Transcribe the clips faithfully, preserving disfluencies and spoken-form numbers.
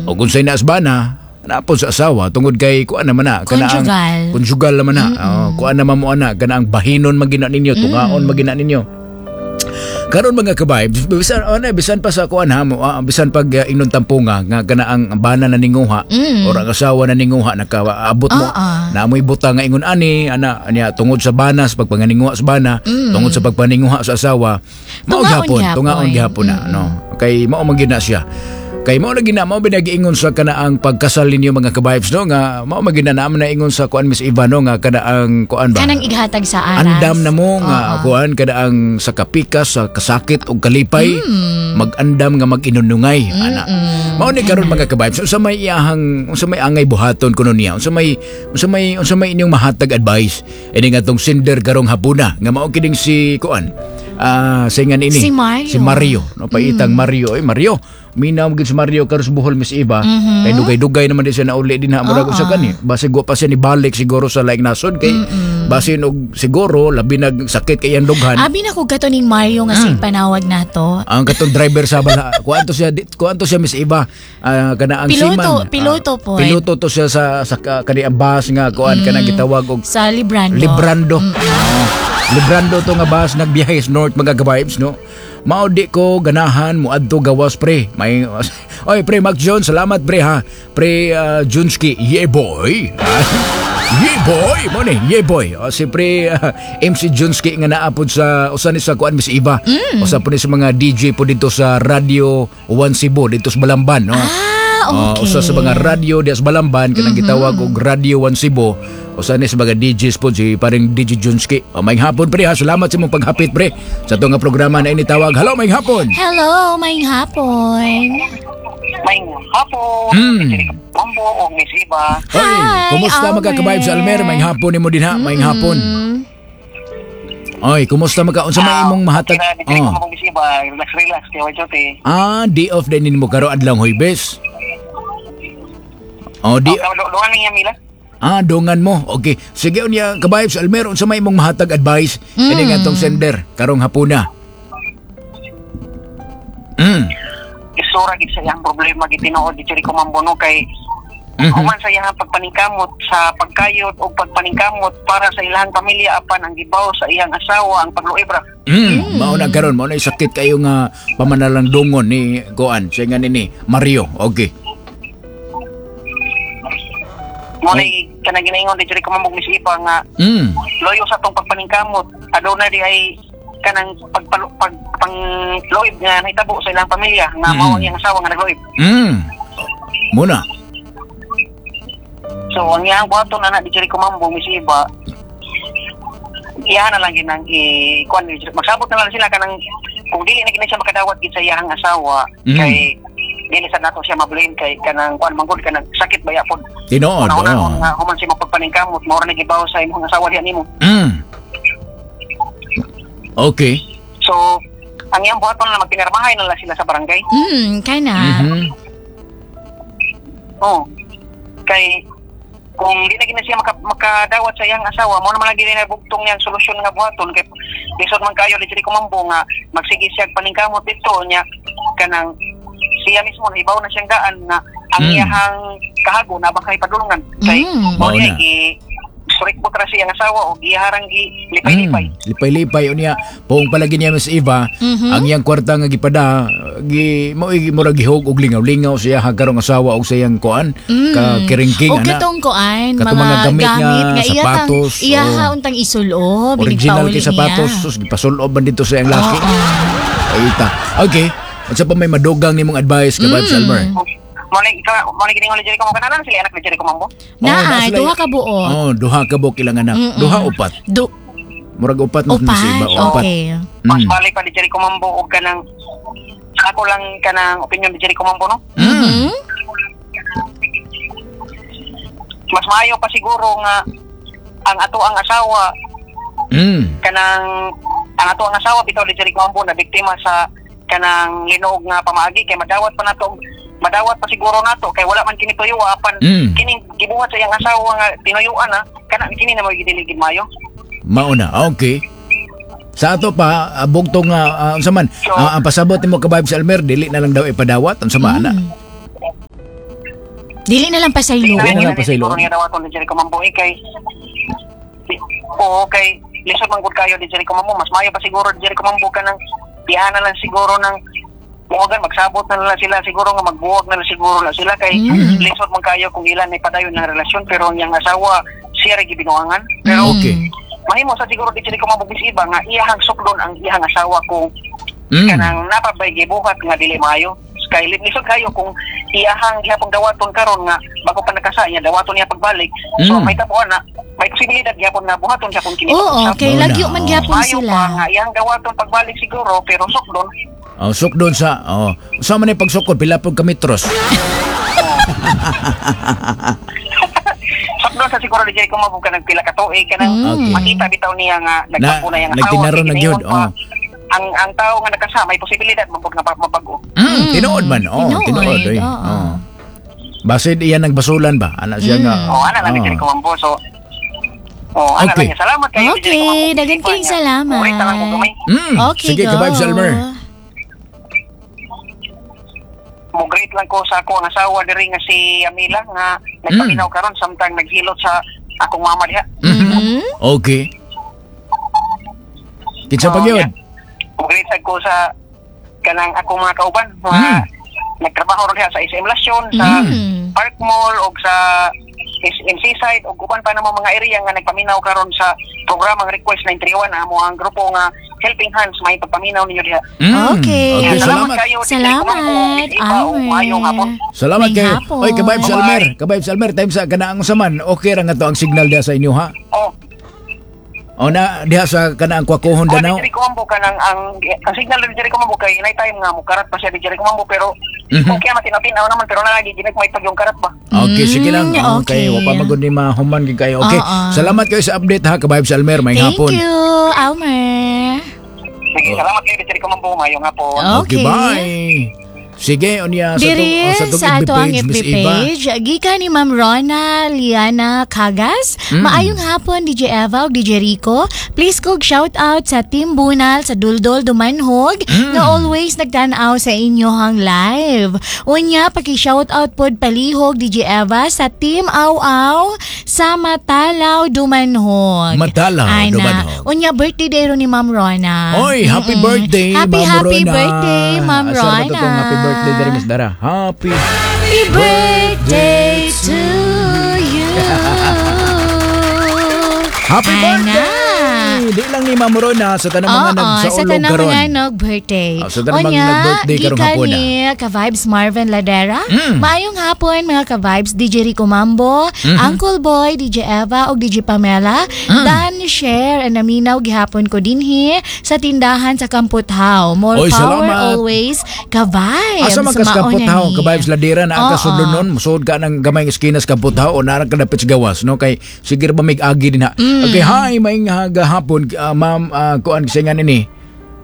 O kung sa'y naasbana, napon sa asawa tungod kay kuan naman na kana ang- Conjugal. Conjugal naman na. Oh, kuan naman mo ana, kana ang bahinon man gina ninyo, tungaon man gina ninyo. Karon, mga ka-vibes, bisan ano, bisan pa sa kuan ha mo, ah, bisan pag uh, ingnon tampunga nga kana ang bana na ninguha mm. or ang asawa na ninguha, nakaabot mo Ah, ah. na amoy buta nga ingon ani ana niya tungod sa bana, sa pagpanganinguha sa bana, mm. tungod sa pagpaninguha sa asawa, mao Tungaon gyapon gyapon. Tungaon gyapon na, no, kay mao man gyud na siya, kay mao na gina mao binagiingon sa kana ang pagkasal ninyo, mga ka-vibes, no, nga mao man gina na na ingon sa kuan, Miss Eva, no, nga kana ang kuan ba. Kanang ighatag sa aras. Andam na mo nga Oo. kuan kada ang sa kapikas, sa kasakit ug kalipay, mag-andam nga mag-inunungay ana. Mao ni karon, mga ka-vibes, unsa may iyahang unsa may angay buhaton kuno niya, unsa may unsa may unsa may inyong mahatag advice ini nga tong sender karong hapuna nga mao kining si kuan, ah, sa ingan ini? Si Mario. Si Mario, no, paitang Mario. Ay, Mario, minaw gid si Mario karon sa Bohol, Miss Eva, kay dugay-dugay naman di siya nauli din ha, murag usa kani basig wa pa siya ni balik siguro sa laing nasod, kay basin og siguro labi nag sakit kay iyang dughan. Abi na ko kato ning Mario nga Mm. sing panawag nato. Ang katong driver sa bala, kuan to siya, di- kuan to siya, Miss Eva, ah, kana ang Piloto, seaman. Piloto Ah, po. Piloto to siya sa sa ka- kani ang bus nga kuan, kanang gitawag og Sa Librando. Librando. Oh, Librando to nga bus nagbiyahe sa North, mga ka-vibes, no. Mao di ko ganahan mo adto gawas, pre. May Oy, pre Mac John, salamat, pre, ha. Pre uh, Junski, yeah boy. Yeah boy, mo ni, yeah boy. O, si pre uh, M C Junski nga naa pod sa usa ni sa kuan, Miss Eva. Usa po ni sa mga D J po dito sa Radio One Cebu dito sa Balamban, no. Ah, Oh, okay. Usa sa mga radyo diya sa Balamban kanang gitawag og Radio One Cebu. Usa ni sa mga D Js po si paring D J Junski. Oh, may hapon, pre, ha. Salamat sa imong paghapit, pre, sa atong nga programa na initawag. Hello, may hapon. Hello, may hapon. May hapon. Mm. Mambo o Miss Iba. Oy, Hi, kumusta, mga Almer. ka-vibes, Almer? May hapon nimo din ha. May hapon. Mm. Oy, kumusta maka unsa may imong mahatag? Kira, dili Oh. ko mong Miss Iba. Relax, relax. Kaya wa duty. Ah, day off din nimo karon adlong Huwebes. Oh, di Oh, dungan niya Mila. Ah, dongan mo. Okay. Sige unya, ka-vibes Almer, unsa may imong mahatag advice mm. ini nga atong sender karong hapuna? Mm. Isura gid sa iyang problema gid tinuod di ko mambo, no, kay Mhm. human sa iyang pagpaningkamot sa pagkayod o pagpaningkamot para sa ilang pamilya, apan ang gibaw sa iyang asawa ang pagluib ra. Mm. Mao na karon, mao na sakit kayo nga pamanalang dungon ni kuan, siya nga nini Mario. Okay. Mo na kanang ginaingon di ko mambo, Miss Iba, nga Mm. loyo sa tong pagpaningkamot, aduna di ay kanang pagpalo pag pangluib nga nahitabo sa ilang pamilya nga Mm. mao ang iyang asawa nga nagluib. Mm. Muna. So ang iyang buhaton ana di ko mambo, Miss Iba, iya na lang ginang i kuan, magsabot na lang sila kanang kung dili na gina siya makadawat gid sa iyang asawa, Mm. kay dili sa nato siya ma-blame kay kanang kuan manggod, kanang sakit baya pod. Tinuod. Una Oh. nga human siya mapagpaningkamot, mao ra na gibaw sa imong asawa diyan nimo. Mm. Okay. So ang iyang buhaton na magpinarmahay na lang sila sa barangay. Mm, kana. Mhm. Oh. Kay kung di na gina siya maka, makadawat sa iyang asawa, mo naman lagi na bugtong niyang solusyon nga buhaton kay lisod man kayo diri kumambo nga magsige siya og paningkamot dito niya, kanang siya mismo nahibaw na siyang daan nga ang Mm. iyahang kahago na baka ipadulngan kay Mm. mao Mao niya na. gi surikbot ra siya ang asawa o giharang gi lipay-lipay. Mm. Lipay-lipay unya. Puong palagi niya, Miss Eva, Mhm. ang iyang kwarta nga gipada gi mo murag gihog og lingaw-lingaw siya karong asawa og sa iyang kuan Mm. ka kiringking O ana. katong kuan, Katong mga, mga gamit nga nga iya tang- sapatos, iya o. ha untang isulob, Original inigpauli kay sapatos, niya. sus, gipasul-ob man dito sa iyang laki. Ay ita. Okay. Unsa pa may madugang nimong advice, ka mm. Almer? Mo ni ikaw, mo ni giningon ni Jericho mo kanalan sila anak ni Jericho Mambo. Naa, Oh, naa sila- duha ka buo. Oh, duha ka buok ilang anak. Mm-mm. Duha, upat. Du Murag upat na upat, si Iba. Upat. okay. Mas Mm. balik pa ni Jericho Mambo og kanang sa ako lang kanang opinion ni Jericho Mambo, no. Mm. Mhm. Mas maayo pa siguro nga ang ato ang asawa Mm. kanang ang ato ang asawa bitaw ni Jericho Mambo na biktima sa kanang linog nga pamaagi kay madawat pa nato, madawat pa siguro nato kay wala man kini tuyo, apan Mm. kining gibuhat sa iyang asawa nga tinuyuan na kana kini na mo gidili gid mayo. Mauna. Okay. Sa ato pa, ah, bugtong nga uh, unsa man, So- ah, ang pasabot nimo, ka-vibes Almer, dili na lang daw ipadawat unsa man ana. Dili na lang pasayloon. Dili na lang Siguro pasayloon. niya dawaton ni Jericho Mambo eh, kay Oo, kay lisod man gud kayo ni Jericho Mambo. Mas maayo pa siguro ni Jericho Mambo ka ng iana lang siguro ng buwagan, magsabot na lang sila siguro nga magbuwag na lang siguro na sila kay Mm. lisod man kayo kung ilan ay padayon ng relasyon pero ang iyang asawa siya ra gibinuangan pero Mm. Okay. mahimo sa siguro di Jericho Mambo bis iba nga iyahang sukdon ang iyang asawa kung Mm. kanang napabay gibuhat nga dili maayo kay lisod kayo kung iyahang gihapon dawaton karon nga bago pa nakasa niya dawaton niya pagbalik so Mm. may tabuan na may posibilidad gihapon nga buhaton siya kung kini Oo, kay Oo lagyo na, man oo. gihapon Maayo sila. pa nga iyang dawaton pagbalik siguro pero sukdon. Oh, sukdon sa oh. Sa man ni pagsukod pila pud ka metros. Sukdon sa siguro di Jericho Mambo ka nagpila ka tuig kanang Mm. Okay. makita bitaw niya nga nagtampo na iyang asawa nagtinaron kay na gyud, ginaingon pa, oh. Ang ang tao nga nakasa may posibilidad mabog nga mabago. Mm, tinuod man. Oh, Tinuod, tinuod oy. oo. Oh. Basid iyan nagbasulan ba? Ana siya nga. Oh, ana lang ni oh. Jericho Mambo so Oh, ana Okay. lang niya. Salamat kayo. Okay, daghan kayong salamat. Okay, lang ko gamay. Mm, Okay, sige, go. ka-vibes Almer. Mo greet lang ko sa ako ang asawa diri nga si Amila nga nagpaminaw karon samtang naghilot sa akong mama diha. Mm. Okay. Kinsa pa Oh, gyud? yeah. Mo greet sad ko sa kanang akong mga kauban mga Mm. nagtrabaho ron diha sa S M Lasyon, sa Mm. Park Mall og sa S M Seaside og uban pa namang mga area nga nagpaminaw karon sa programang Request nine three one, amo ang grupo nga Helping Hands may pagpaminaw ninyo diha. Mm. Okay. Okay, salamat. Kayo. Salamat, Almer. Almer. Salamat May kayo. hapon. Oy, ka-vibes Bye-bye. Almer. Ka-vibes Almer, time sa kanaang saman. Okay ra nga to ang signal diha sa inyo ha. Oh, O na diha sa kanaang Kwakuhon oh, Danao. di Jericho Mambo kanang ang ang signal ni Jericho Mambo kay night time nga mo karat pa siya di Jericho Mambo pero Mhm. okay man tinatinaw naman pero nalagi ginag may pag yung karat ba. Okay, sige lang. Mm, Okay, okay. wa pa magud ni mahuman gid kayo. Okay. Oo. Salamat kayo sa update ha, ka-vibes Almer. May Thank hapon. you, Almer. Sige, salamat kayo di Jericho Mambo mayong hapon. Okay, Okay. bye. Sige, unya sa Diri tong oh, sa tong sa F B ato ang page, F B Miss Eva. page, gikan ni Ma'am Rona Liana Cagas. Mm. Maayong hapon D J Eva ug D J Rico. Please kog shout out sa Team Bunal sa Duldol Dumanhog Mm. nga always nagtan-aw sa inyohang live. Unya paki-shout out pod palihog D J Eva sa Team Aw Aw sa Matalaw Dumanhog. Matalaw, Ana. Dumanhog. Unya birthday day ron ni Ma'am Rona. Oy, happy Mm-mm. birthday, Happy Ma'am happy Rona. birthday, Ma'am Asa ba Rona. to tong happy birthday diri, Miss Dara? Happy Happy birthday to you. Happy Ana. birthday! Di lang ni Ma'am Rona, sa tanang mga Oo, sa nagsaulog tanang karon. mga nag-birthday. Ah, sa tanang mga nag-birthday karong gikan hapon, ni Ka-Vibes Marvin Ladera. Mm. Maayong hapon mga ka-vibes, D J Rico Mambo, Mm-hmm. Uncle Boy, D J Eva ug D J Pamela. Mm. Dan share and naminaw gihapon ko dinhi sa tindahan sa Kamputhaw. More Oy, power salamat. always, ka-vibes. Asa man kas Mao na Kamputhaw, ni. ka-vibes Ladera na ka Oo. sudlonon, musod ka ng gamay nga eskina sa Kamputhaw o narang kadapit sa gawas, no? Kay sige ra ba mig agi din ha. Mm. Okay, hi, maayong hapon, uh, ma'am, uh, kuan kisingan ini.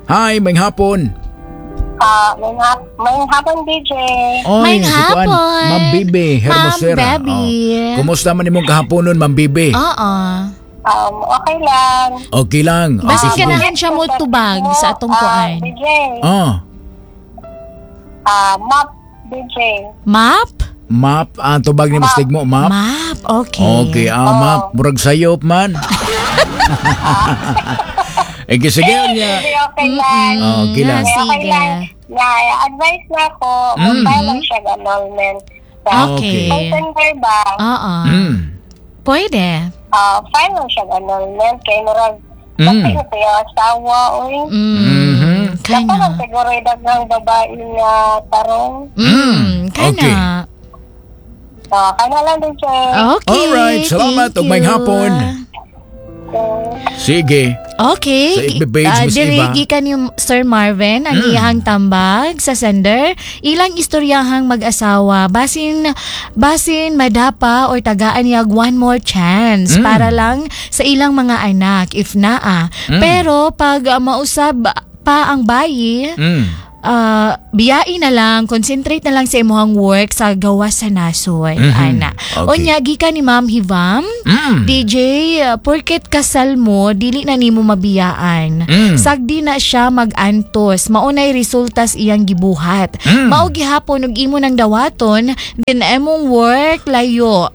Hi, maayong hapon. Ah, may, hap- may hapon D J. Oy, Maayong si kuan, hapon. Ma'am Bibi Hermosera. Ma'am Bebe. Oh. Kumusta man imong kahaponon, Ma'am Bibi? Oo. Um, okay lang. Okay lang. Okay, Basin sige. ganahan siya mo tubag sa atong Ah, kuan. D J. Oh, Ah, map D J. Map? Map, ang tubag ni Mas Tigmo, map. Map, okay. Okay, ah, map. Murag sayop man. Eh, sige niya. Hindi, okay lang. Oh, okay lang. Ah, Okay sige. lang. Na, advice na ako, Mm. mag-file lang siya ng annulment. Sa Okay. September ba, Oo. Mm. Pwede. ah, file lang siya ng annulment. Kay murag, Mm. kasi ito yung asawa, uy. Mm. Mhm. Kana. Dapat lang siguro yung daghang babae nga tarong. Mm. Kana. Okay. Ah, kana lang D J. Okay. Alright, salamat Thank ug maayong you. hapon. Sige. Okay. Sa F B page, Ah, Miss diri Eva. gikan ni Sir Marvin ang Mm. iyahang tambag sa sender. Ilang istoryahang mag-asawa basin basin madapa or tagaan niya one more chance Mm. para lang sa ilang mga anak if naa. Mm. Pero pag ah, mausab pa ang bayi, Mm. uh, biyain na lang, concentrate na lang sa imong work sa gawas sa nasod, Mhm. ana. Okay. Unya gikan ni Ma'am Hivam, Mm. D J, uh, porket kasal mo, dili na nimo mabiyaan. Mm. Sagdi na siya mag-antos, maunay resultas iyang gibuhat. Mm. Mao gihapon og imo nang dawaton, then emong work layo.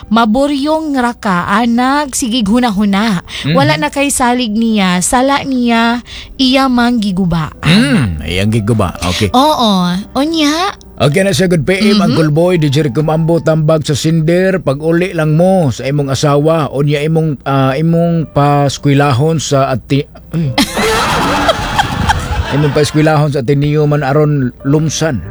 Maburyong ra ka, anak, sige huna-huna. Mm. Wala na kay salig niya, sala niya, iya mang giguba. Mm. Iyang giguba. Okay. Oo, unya, Okay na siya, good P M, Mm-hmm. ang Boy, D J Rico Mambo, tambag sa sender, pag uli lang mo sa imong asawa, unya imong ah, imong paskwilahon sa ati ay. Imong paskwilahon sa Ateneo man aron lumsan.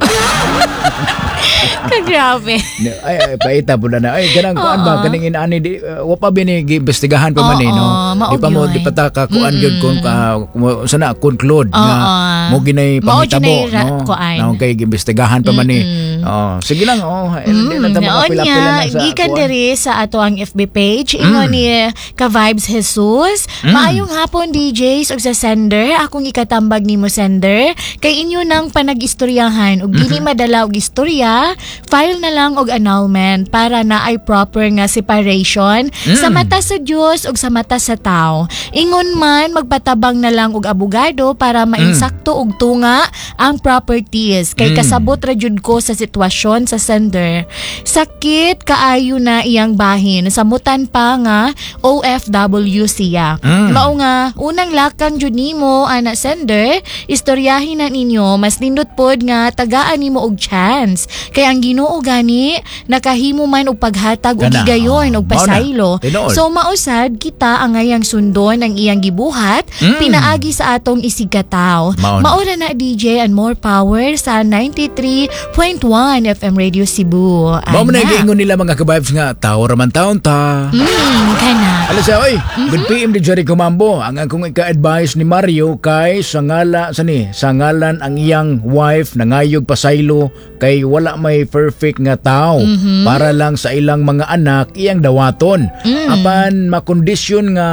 Kagrabe. Ay, ay paita po na na. Ay, ganang kuan ba kaning inaani di uh, wa pa bini giimbestigahan pa man eh, no. Oo, mao Di pa mo gyud. di pa ta ka kuan gyud kung ka uh, sana conclude nga Oo. mo ginay Mao pangitabo, gyud nay ra- no. kuan. Na kay giimbestigahan pa man eh. Oh, sige lang, oh. Eh, di na ta Mm, makapila-pila unya, na sa gikan kuan. diri sa ato ang F B page, ingon ni ka Vibes Jesus, "Maayong hapon D Js ug sa sender, akong ikatambag nimo sender, kay inyo nang panag-istoryahan ug dili madala og istorya, file na lang og annulment para na ay proper nga separation sa mata sa Dios ug sa mata sa tao. Ingon man magpatabang na lang og abogado para mainsakto og tunga ang properties kay kasabot ra jud ko sa sitwasyon sa sender. Sakit kaayo na iyang bahin samutan pa nga O F W siya. Mm. Mao nga unang lakang jud nimo ana sender, istoryahin na ninyo, mas nindot pod nga tagaan nimo og chance kay ang Ginoo gani nakahimo man og paghatag og Kana, higayon oh. og Mao na. pasaylo. Tinuod. So mausad kita angayang sundon ang iyang gibuhat Mm. pinaagi sa atong isigkataw." Mao na. Mao ra na, D J, and more power sa ninety-three point one F M Radio Cebu. Mao man Ana. na giingon nila, mga ka-vibes, nga tao ra man taon ta. Mm, kana. Ala siya, oy, good P M, D J Rico Mambo. Ang akong ika-advise ni Mario kay sangala, sani, sangalan ang iyang wife nangayog pasaylo kay wala may perfect nga tao. Para lang sa ilang mga anak iyang dawaton. Apan makondisyon nga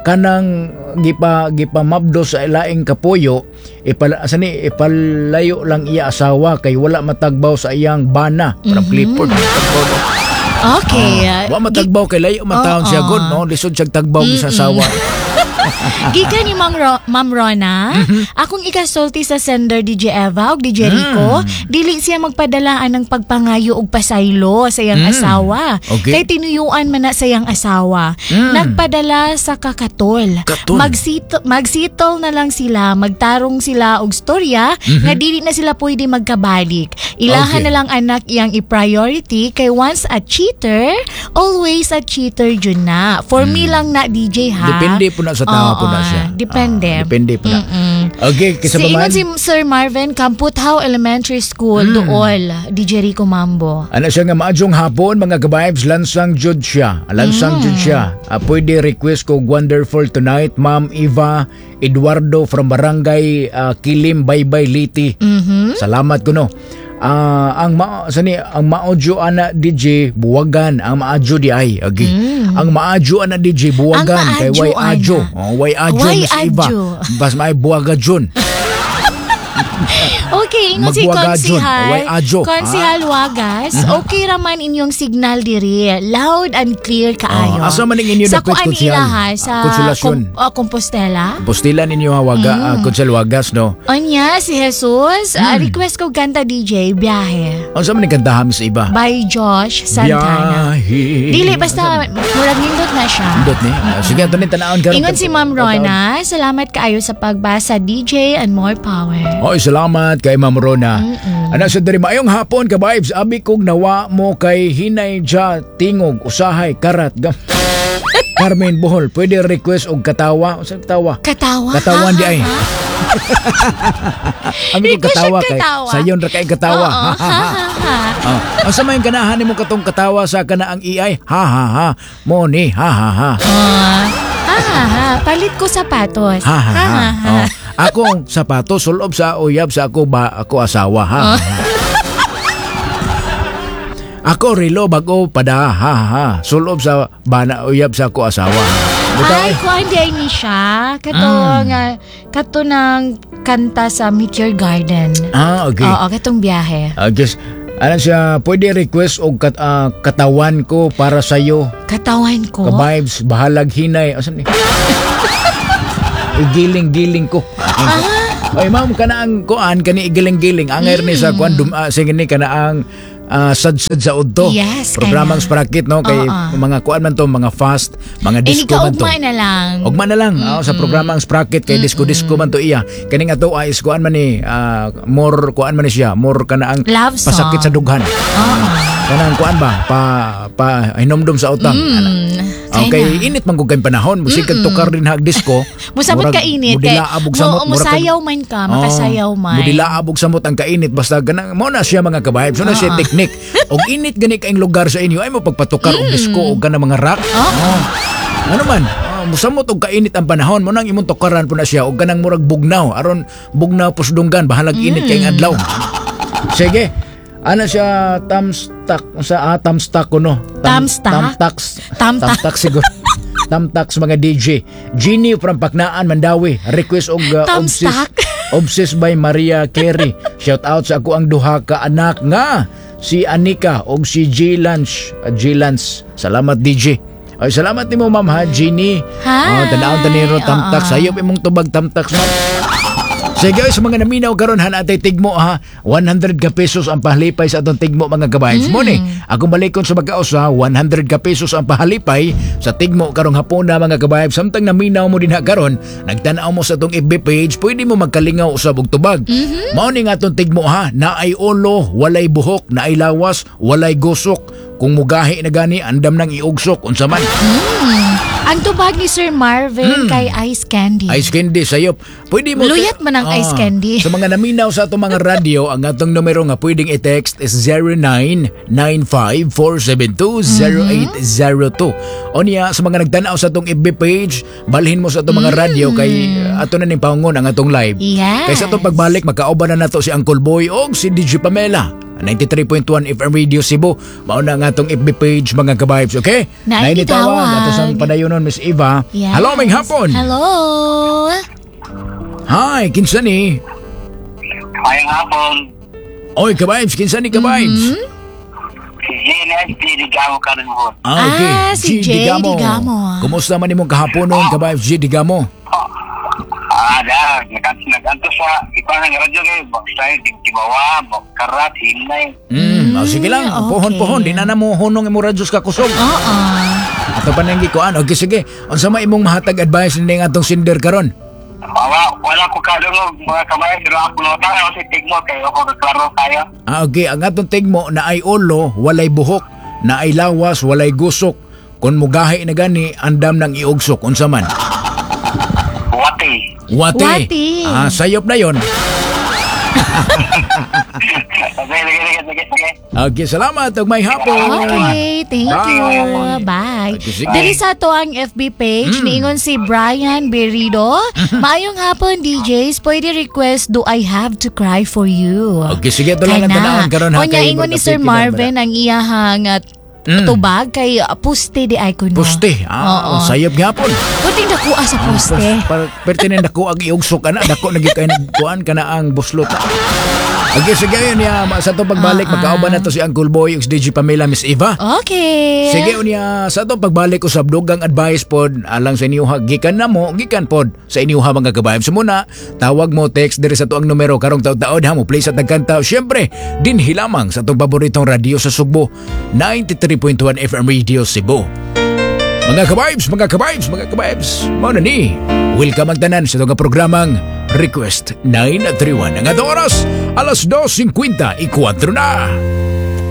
kanang gipa gipa mabdo sa ilaing kapuyo, ipala sani ipalayo lang iya asawa kay wala matagbaw sa iyang bana. Parang clipboard. Matagbaw, no? Okay. Wa matagbaw kay layo man taon siya Oo. god, no, lisod siya tagbaw sa asawa. Gikan ni Ma'am, Ro- Ma'am Rona, Mhm. "Akong ikasulti sa sender, D J Eva ug D J Rico, Mm. dili siya magpadala anang pagpangayo og pasaylo sa iyang Mm. asawa. Okay. Kay tinuyuan man na sa iyang asawa. Mm. Nagpadala sa kakatol. Katol. Magsettle, magsettle na lang sila, magtarong sila og storya nga dili na sila pwede magkabalik. Ilahan Mhm. Okay. na lang anak iyang i-priority kay once a cheater, always a cheater jud na. For me lang na, D J, ha." Hmm. Depende po na sa tao po na Oo, siya. depende. Ah, depende po na. Mm-mm. Okay, kisa Si pa man. ingon si Sir Marvin, Kamputhaw Elementary School, Hmm. Duol, D J Rico Mambo. Ano siya nga, "Maadjong hapon mga ka-vibes, lansang jud siya. Lansang Mm. jud siya. Ah, pwede request ko Wonderful Tonight, Ma'am Eva Eduardo from Barangay ah, Kilim, Baybay, Leyte. Mhm. Salamat kuno. Ah, ang ma sani ang maadyo ana D J buwagan ang maadyo di ay agi. Ang maadyo ana D J buwagan Mm. Ang kay way maadyo, ana. adyo. Oh, way adyo Way Miss Eva. adyo. Bas may buwaga jud. Okay, ingon si Magbuwaga jud. Konsihal. Way adyo. Konsihal Wagas, okay raman inyong signal diri. Loud and clear kaayo." Oh, asa man ning inyo Sa dapit, kuan Konsihal? nila ha, sa Ah, Konsolasyon. Kom- ah, Compostela. Postila ninyo ha waga Mm. ah, Konsehal Wagas, no. Onya, si Jesus, Hmm. ah, request ko kanta D J, "Biyahe." Unsa man ning kantahan sa iba? By Josh Santana. Biyahe. Dili, basta murag nindot na siya. Nindot ni. Ah, sige, ato ni tanawon karon. Ingon si Ma'am Rona, "Salamat kaayo sa pagbasa D J and more power." Oy, salamat kay Ma'am Rona. Ano sa diri, "Maayong hapon ka vibes, abi kog nawa mo kay hinay ja tingog usahay karat gam. Carmen Bohol, pwede request og katawa?" Unsa katawa? Katawa? Katawan di Ha, ay. ha, ha? Abi kog Request katawa og kay katawa. sayon ra kay katawa. Oo. Ha, ha, ha. Ah, unsa may ganahan nimo katong katawa sa kana ang A I? Ha ha ha. Mo ni ha ha ha. Ah, ha, ha, ha. Palit ko sapatos. Ha ha ha. Oh. Akong sapatos sulob sa uyab sa ako ba ako asawa ha. Ha, ha. Ako relo bago pada ha ha ha. Sulob sa bana uyab sa ako asawa. Bitaw Ay, eh. kuan di ay ni siya. Kato Mm. nga, kato ng kanta sa Meteor Garden. Ah, okay. Oo, katong biyahe. Ah, guess, ano siya, pwede request og kat, ah, katawan ko para sa'yo. Katawan ko. Ka-vibes, bahalag hinay. Asan ni? Igiling-giling ko. Ah. Oy, ma'am, kana ang kuan kani igiling-giling. Angay ni sa kuan dum ah, sige ni kana ang ah, sadsad sa udto. Yes, Programang kana. Sprocket no kay Oo. mga kuan man to, mga fast, mga Eh, disco man to. ugma na lang. Ugma na lang ah, sa programang Sprocket kay disco disco man to iya. Kani nga to ay is kuan man ni ah, more kuan man ni siya, more kana ang Love song. pasakit sa dughan. Oo. Kanang kuan ba pa pa hinumdum sa utang. Ana. Mm, Okay, kaya na. init man gud kay panahon, musig kag tukar din hag disco. Musabot Murag ka init. Mudilaab og samot, mo, murag kag- musayaw man ka, makasayaw Oh, man. Mudilaab og samot ang kainit basta ganang mo na siya mga ka-vibes, mo na siya teknik. Og init gani kaing lugar sa inyo ay mo pagpatukar og disco og kanang mga rock. Oh. Ano man, oh, musamot og kainit ang panahon mo nang imong tukaran po na siya og kanang murag bugnaw aron bugnaw pusdunggan bahalag init kay adlaw. Sige. Ano siya tamstak sa ah, tamstak ko no. Tamstak? Tamtax. Tamtak. Tamtax siguro. Tamtax mga DJ. Genie from Paknaan, Mandawi. Request og uh, Tamstak? Obsessed, Obsessed by Maria Carey. Shout out sa ako ang duha ka anak nga si Anika og si G Lance. Uh, G Lance. Salamat DJ. Ay, salamat nimo ma'am ha, Genie. Hi. Oh, tan-awon ta niro tamtax. Oo. Sayop imong tubag tamtax ma'am. Sige, sa mga naminaw karon han atay tigmo ha. one hundred ka pesos ang pahalipay sa atong tigmo mga kabayan. Mm. Mo ni, akong balikon sa pagkausa, one hundred ka pesos ang pahalipay sa tigmo karong hapon na mga kabayan. Samtang naminaw mo din ha karon, nagtan-aw mo sa atong F B page, pwede mo magkalingaw usab og tubag. Mm-hmm. Mao ni nga atong tigmo ha, naay ulo, walay buhok, naay lawas, walay gusok. Kung mugahi na gani, andam nang iugsok unsa man. Ang tubag ni Sir Marvin kay Ice Candy. Ice candy sayop. Pwede mo Luyat man ang ice candy. Sa mga naminaw sa atong mga radyo, ang atong numero nga pwedeng i-text is zero nine nine five, four seven two, zero eight zero two. O niya, sa mga nagtanaw sa atong F B page, balhin mo sa atong mga radyo kay uh, ato na ning paungon ang atong live. Yes. Kay sa atong pagbalik, magkauban na nato si Uncle Boy o si D J Pamela. ninety-three point one F M Radio Cebu. Mao na ang atong F B page mga ka-vibes, okay? Naay Naay gitawag. nitawag ato sang padayonon Miss Eva. Yes. Hello, may hapon. Hello. Hi, kinsa ni? Mayong hapon. Oy, ka-vibes, kinsa ni ka-vibes? Mm-hmm. Si G N S D Digamo karon mo. Ah, okay. Ah, si Jay Digamo. Kumusta man imong kahaponon, ka-vibes G Digamo? Ah, da, nag nag-anto sa ikuan ng radyo kay basta di tibawa, karat hinay. Mm, oh, sige lang, okay. pohon-pohon, di na na mo hunong imong radyo sa kakusog. Oo. Ato pa nang gikuan. Okay, sige. Unsa may imong mahatag advice ning atong sender karon? Wala wala ko kadungog mga kamay pero ako nota ako si tigmo kay ako klaro kayo. Ah, okay, ang atong tigmo na ay ulo, walay buhok, na ay lawas, walay gusok. Kung mugahi na gani, andam nang iugsok unsa man. Wati. Wate. Wati. Ah, sayop na yon. Sige, sige, sige, sige, sige. Okay, salamat ug may hapon. Okay, thank Bye. you. Bye. Okay, sige. Diri sa ato ang F B page, niingon si Brian Berrido. Maayong hapon, D Js. Pwede request Do I Have to Cry for You? Okay, sige, ito lang ang Kana. tanawon karon ha Unya kay ingon ni Sir magkapit Marvin ang iyahang uh, Mm. tubag kay uh, puste di ay kuno. Puste. Ah, Oo. sayop gyapon. Puting dakuha sa puste. Par pertinent dako ang iugsok ana, dako na gyud kay nagkuan kana ang buslot. Okay, sige yun niya. Sa atong pagbalik, Ah, ah. magkauban na to si Uncle Boy, ug si D J Pamela, Miss Eva. Okay. Sige unya sa atong pagbalik usab dugang advice pod alang sa inyo ha gikan na mo gikan pod sa inyo ha mga kabayan. So muna tawag mo text diri sa tuang numero karong taud-taod ha mo play sa tagkanta syempre dinhi lamang sa atong paboritong radyo sa Sugbo ninety-three point one F M Radio Cebu. Mga ka-vibes, mga ka-vibes, mga ka-vibes, mao na ni. Welcome ang tanan sa itong programang Request nine three one. Ang atong oras, alas dos singkwenta y kwatro na.